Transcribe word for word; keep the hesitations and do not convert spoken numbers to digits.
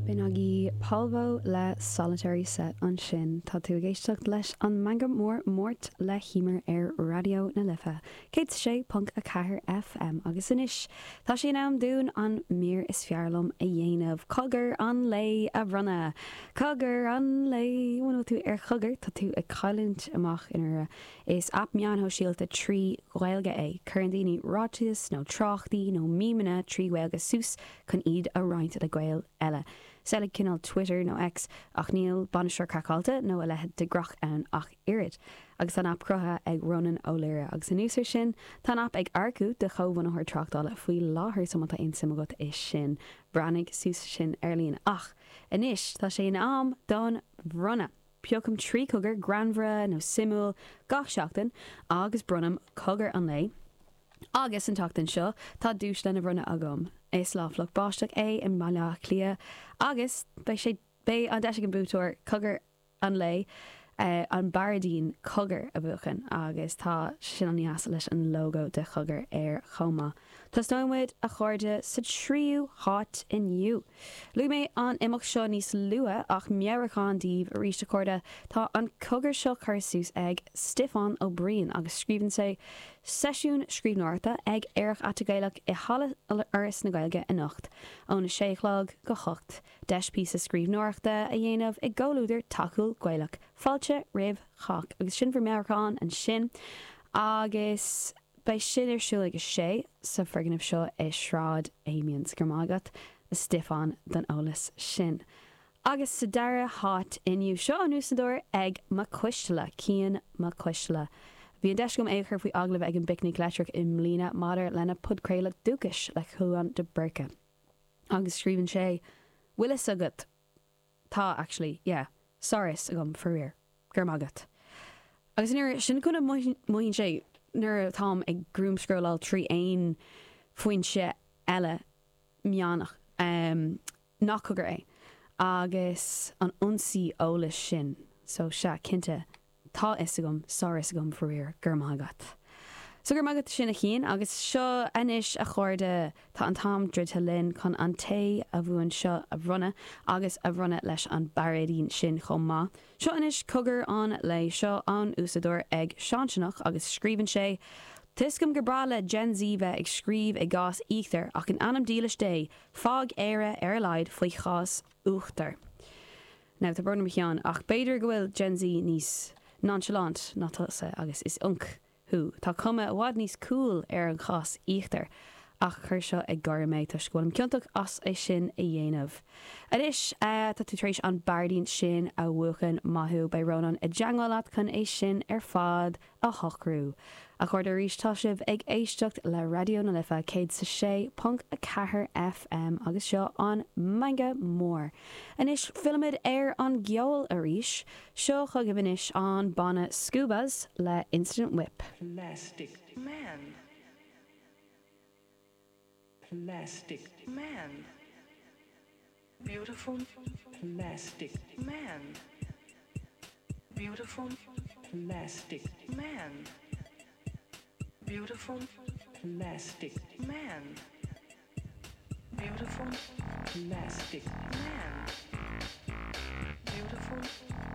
B'in agaibh Polvo le Solitary Set ansin tá tú ag éisteacht leis an Meangadh Mór Máirt le hEmer ar Raidió na Life. Céad sé ponc a ceathair FM agus anois Tá sé in am dúinn an mír is fearr liom a dhéanamh cogar an lae a bhronnadh. Cogar an lae bhfuil tú ar chogar tá tú ag cailliúint amach ina is aip meáin shóisialta trí Ghaeilge é. Cuireann daoine ráitis nó tráchtaí nó mímeanna trí Ghaeilge suas chun iad a roinnt le Gaeil eile. Samhlaigh cineál Twitter nó X ach níl bainisteoir craiceáilte nó a leithéid de dhrach ann ach oiread. Agus an aip cruthaithe ag Ronan O'Leary agus anuas air sin tá an aip ag earcú do chomhbhunaitheoir tráchtála faoi láthair so má tá aon suim agat is sin breathnaigh suas sin ar líne ach anois tá sé in am don bhronnadh. Piocaim trí cogar greannmhara nó suimiúil gach seachtain agus bronnaim cogar an lae. Agus an tseachtain seo tá duais lena bhronnadh agam. Is lá fliuch báisteach é i mBaile Átha Cliath agus beidh sé beidh an deis ag an buaiteoir cogar an lae uh, an bairéidín cogar a bhuachan agus tá sin an-deas leis an logo de chogar ar chomh maith. Tosnóimid a chairde sa tríú háit inniu. Luaigh mé an imeacht seo níos luaithe ach meabhrúchán daoibh arís a chairde tá an cogar seo curtha suas ag Stiofán Ó Briain agus scríobhann sé seisiún scríbhneoireachta ag Aerach Aite Gaelach i Halla Fhoras na Gaeilge anocht óna sé a chlog go hocht. Deis píosa scríbhneoireachta a dhéanamh i gcomhluadar tacúil Gaelach. Fáilte roimh chách agus sin bhur meabhrúchán ansin agus beidh sin ar siúl ag a sé sa foirgneamh seo i Sráid Amiens go raibh maith agat a Stiofán don eolas sin. Agus sa dara háit inniu seo an úsáideoir ag Mac Coisteala Cian Mac Coisteala. Bhí an deis agam é chur faoi agallamh ag an bPicnic Leictreach i mbliana maidir lena podchraoladh dúchais le Chuan de Burca. Agus scríobhann sé bhfuil fhios agat tá actually yeah sár-fhios agam faraor gur magat. Agus nuair sin chuna mothaíonn sé nuair táim ag doomscrolláil trí aon foinse eile meánach um, nach cogar é agus an ionsaí eolais sin so sea cinnte tá fhios agam sár-fhios agam faraor gur magat. So gur magat sin a Chian agus seo anois a chairde tá an t-am druidte linn chun an té a bhuann seo a bhronnadh agus a bhronnadh leis an bairéidín sin chomh maith. Seo anois cogar an lae seo an úsáideoir ag Seanseanach agus scríobhann sé, Tuigim gur breá le Gen Z bheith ag scríobh i gcás íochtar ach in ainm dílis Dé, fág Éire ar a laghad faoi chás uachtar. Now tá brón orm a Sheáin ach b'fhéidir go bhfuil Gen Z níos nonchalant ná tusa agus is unc thú. Tá cuma i bhfad níos cool ar an chás íochtar ach chuir seo ag gáire mé toisc go bhfuilim ciontach as é sin a dhéanamh. Anois uh, tá tú tar éis an bairéidín sin a bhuachan maith thú beidh Rónán i dteagmháil leat chun é sin ar fad a shocrú. A chairde arís tá sibh ag éisteacht le Raidió na Life céad sa sé ponc a ceathair FM agus seo an Meangadh Mór. Anois fillimid ar an gceol arís, seo chugaibh anois an banna Scubas le Instant Whip. Plastic man, plastic man, beautiful plastic man, beautiful plastic man, beautiful plastic man, beautiful plastic man, beautiful